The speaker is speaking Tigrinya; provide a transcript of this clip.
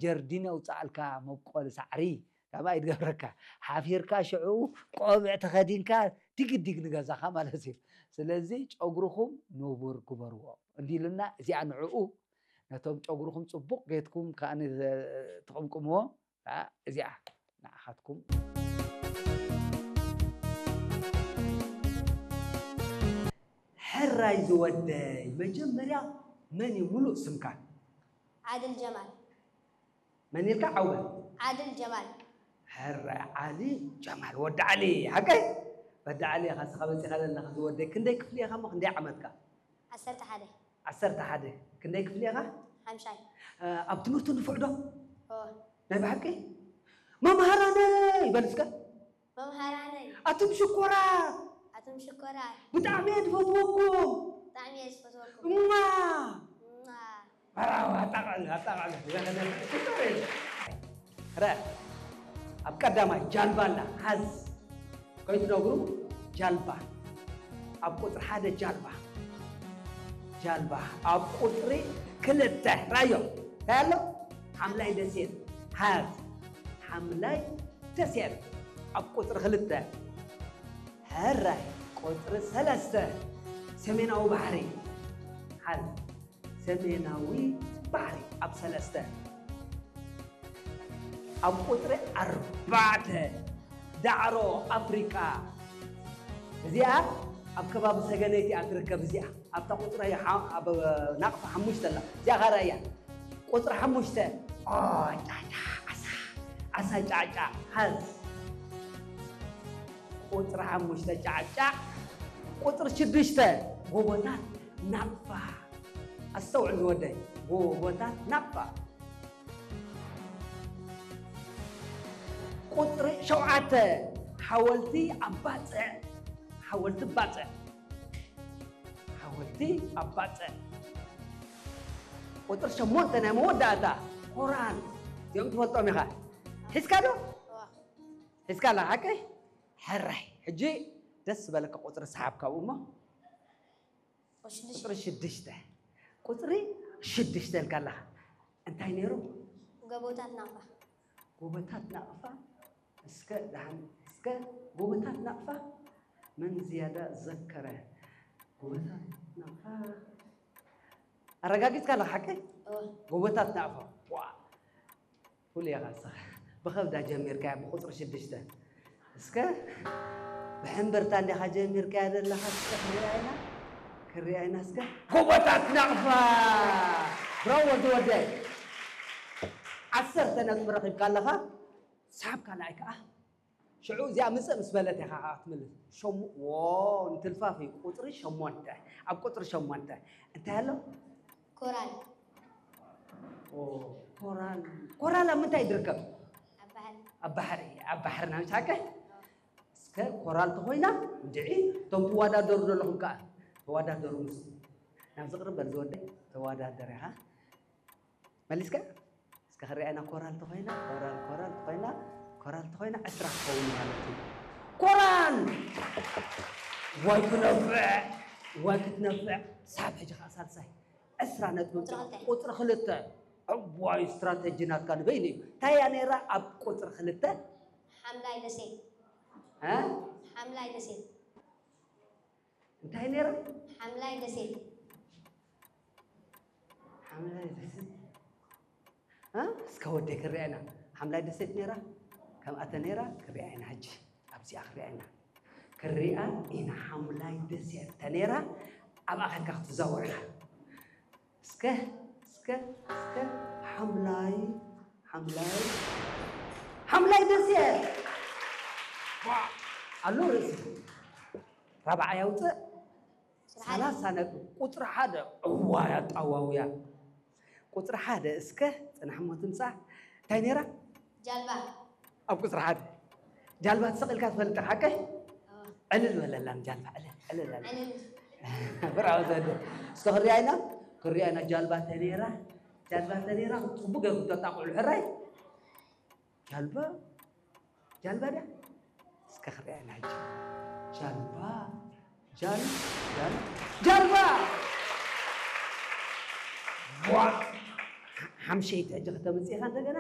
ጀርዲን የውፅኣልካ፣ መብቆሊ ሳዕሪ ካባይ ይድገብረካ። ሓፊርካ ሽዑ ቆብዕ ተኸዲንካ ዲግዲግ ንገዛኻ ማለት እዩ። ስለዚ ጨጉርኹም ንቡር ግበርዎ እንዲሉና፣ እዚኣ ንዕኡ ነቶም ጨጉርኹም ጽቡቕ ጌትኩም ከኣ ን-፣ ትቕምቅምዎ። ከኣ እዚኣ ንዓኻትኩም። ሕራይ ዝወደይ፣ መጀመርያ መን እዩ ሙሉእ ስምካ? ዓድል ጀማል። መን ኢልካ? ዓወት። ዓድል ጀማል። ሕራይ ዓሊ ጀማል፣ ወዲ ዓሊ፣ ሓቀይ? ወዲ ዓሊ ኢኻ፣ እስኻ በጺኻ ዘለኻ ዝወደይ። ክንደይ ክፍሊ ኢኻ እሞ ክንደይ ዓመትካ? ዓሰርተ ሓደ። ዓሰርተ ሓደ። ክንደይ ክፍሊ ኢኻ? ሓምሻይ። እ፣ ኣብ ትምህርቲ ንፉዕ ዶ? ኦ። ናይ ብሓቂ? መምሃራነይ በል እስከ። መምሃራነይ። ኣቱም ሽኮራት። ኣቱም ሽኮራት። ብጣዕሚ እየ ዝፈትወኩም። ብጣዕሚ እየ ዝፈትወኩም። እማ። እማ። ብራቮ፣ ኣጣቓዕሉ፣ ኣጣቓዕሉ። ሽኮር እዩ። ረ፣ ኣብ ቀዳማይ ጃልባ ኣላ፣ ሓዝ። ከይትነግሩ፣ ጃልባ። ኣብ ቁጽሪ ሓደ ጃልባ። ጃልባ። ኣብ ቁጽሪ ክልተ፣ ራዮ። እንታይ ኣሎ? ሓምላይ ደሴት። ሓዝ። ሓምላይ ደሴት። ኣብ ቁጽሪ ክልተ። ሕራይ። ቁጽሪ ሰለስተ። ሰሜናዊ ባሕሪ። ሓዝ። ሰሜናዊ ባሕሪ ኣብ ሰለስተ። ኣብ ቁጽሪ ኣርባዕተ፣ ዳዕሮ ኣፍሪቃ። እዚኣ ኣብ ከባቢ ሰገነይቲ እያ ትርከብ። እዚኣ ኣብታ ቁጽሪ ሓ-፣ ኣብ ናቕፋ ሓሙሽተ ኣላ። እዚኣ ኻራ እያ። ቁጽሪ ሓሙሽተ፣ ኦ፣ ጫጫ፣ ዓሳ፣ ዓሳ ጫጫ፣ ሓዝ። ቁጽሪ ሓሙሽተ፣ ጫጫ። ቁጽሪ ሽዱሽተ፣ ጎቦታት ናቕፋ። ኣስተውዕል ዝወደይ፣ ጎቦታት ናቕፋ። ቁጽሪ ሸውዓተ፣ ሓወልቲ ኣብ ባጽዕ። ሓወልቲ ባጽዕ። ሓወልቲ ኣብ ባጽዕ። ቁጽሪ ሸሞንተ፣ ናይ መወዳእታ፣ ኮራል። እዚኦም ትፈልጦም ኢኻ። ሒዝካ ዶ? እዋ። ሒዝካ ኣላ፣ ሓቀይ? ሕራይ። ሕጂ ደስ ዝበለካ ቁጽሪ ሰሓብ ካብኡ እሞ። ቁጽሪ ሽዱሽተ። ቁጽሪ ሽዱሽተ። ቁጽሪ ሽዱሽተ ኢልካ ኣለኻ። እንታይ ነይሩ? ጎቦታት ናቕፋ። ጎቦታት ናቕፋ። እስከ ደሓን፣ እስከ ጎቦታት ናቕፋ መን ዝያዳ ዘከረ? ጎቦታት ናቕፋ። ኣረጋጊጽካ ኣለኻ ሓቀይ? እወ። ጎቦታት ናቕፋ። ዋ። ፍሉይ ኢኻ ንስኻ። ብኸብዳ ጀሚርካያ ብቁጽሪ ሽዱሽተ። እስከ ብሕምብርታ እንዲኻ ጀሚርካያ ዘለኻ፣ እስከ ክሪኣ ኢና። ክሪኣ ኢና እስከ። ጎቦታት ናቕፋ! ብራቮ ወዲ ወደይ። ዓሰርተ ነጥቢ ረኺብካ ኣለኻ። ሰሓብ ካልኣይ ከኣ። ሽዑ እዚኣ ምጽእ ምስ በለት ኢኻ ከኣ ክትምልስ። ሸሙ-፣ ዎ፣ እንትልፋፍ እዩ። ቁጽሪ ሸሞንተ። ኣብ ቁጽሪ ሸሞንተ እንታይ ኣሎ? ኮራል። ኦ፣ ኮራል። ኮራል ኣብ ምንታይ ትርከብ? ኣብ ባሕሪ። ኣብ ባሕሪ፣ ኣብ ባሕርና ምሽ ሓቀይ? እስከ ኮራል ተኾይና፣ እንድዒ፣ እቶም ትወዳደሩ ዘለኹም ከኣ፣ ተወዳደሩ ምስ-፣ ናብዚ ቅርብ በል ዝወደይ፣ ተወዳደር ኢኻ። መሊስካ? እስከ ክሪኣና፣ ኮራል ተኾይና፣ ኮራል፣ ኮራል ተኾይና፣ ኮራል ተኾይና ዕስራ ክኸውን ማለት እዩ። ኮራል! ዋይ ክነፍዕ! ዋይ ክትነፍዕ! ሳብ ሕጂ ከኣ ሳልሳይ። ዕስራ ነጥቢ ቁጽሪ ክልተ። ቁጽሪ ክልተ። እዋይ፣ ስትራተጂ ናትካ ንበይኑ እዩ። እንታይ እያ ነይራ ኣብ ቁጽሪ ክልተ? ሓምላይ ደሴት። እ? ሓምላይ ደሴት። እንታይ ነይራ? ሓምላይ ደሴት። ሓምላይ ደሴት። እ? እስከ ወደይ ክሪኣ ኢና። ሓምላይ ደሴት ነይራ? ከምኣ ተነይራ ክሪኣ ኢና ሕጂ። ኣብዚኣ ክሪኣ ኢና። ክሪኣ ኢና ሓምላይ ደሴት ተነይራ ኣብኣ ኸድካ ክትዛወር ኢኻ። እስከ፣ እስከ፣ እስከ፣ ሓምላይ፣ ሓምላይ፣ ሓምላይ ደሴት። ዋ፣ ኣሎ ርእሲ። ራብዓይ ኣውፅእ። ሰላሳ ነጥቢ። ቁፅሪ ሓደ። እዋይ፣ ኣጣዋውያ። ቁፅሪ ሓደ፣ እስከ፣ ፅናሕ እሞ ትምፃእ። እንታይ ነይራ? ጃልባ። ኣብ ቁጽሪ ሓደ ጃልባ ተሰቒልካ ትፈልጥ ሓቀይ? ኣዎ። ዕልል በለላ ንጃልባ፣ ዕልል፣ ዕልል በለላ። ዕልል። ብራቮ ዘወደ። እስከ ክሪኣ ኢና፣ ክሪኣ ኢና ጃልባ ተኔራ፣ ጃልባ ተኔራ ጽቡቅ ገይሩ ተጣቕዑ ሕራይ። ጃልባ፣ ጃልባ ድያ? እስከ ክሪኣ ኢና ሕጂ። ጃልባ፣ ጃል-፣ ጃል-፣ ጃልባ! ዋ! ሓምሸይቲ ሕጂ ከተምፅኢኻ እንደገና